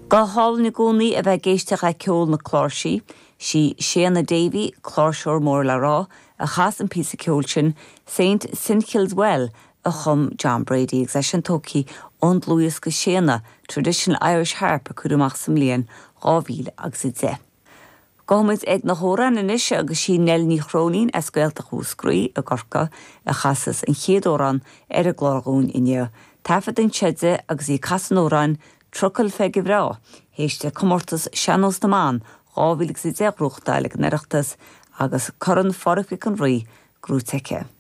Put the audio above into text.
Go hálainn i gcónaí a bheith ag éisteacht le ceol na cláirsí. Sí Séanna Davey, cláirseoir mór le rá, a chas an píosa ceoil sin, Saint Finchill's Well, a chum John Brady agus é sin tógtha ón dlúthdhiosca Séanna, Traditional Irish Harp a cuireadh amach sa mbliain 2000 agus 10. Gabhfaidh muid ag na hamhráin anois agus sí Nell Ní Chróinín as Gaeltacht Mhúscraí i gCorcaigh a chasas an chéad amhrán ar an gclár dhúinn inniu. Taifead anseo di agus í ag casadh an amhráin Trucail Pheige Bhreá, théis di comórtas Sean-Nós na mBan 2010 a ghnóthachtáil ag an Oireachtas agus Corn Phádraig Mhic an Rí gnóite aici.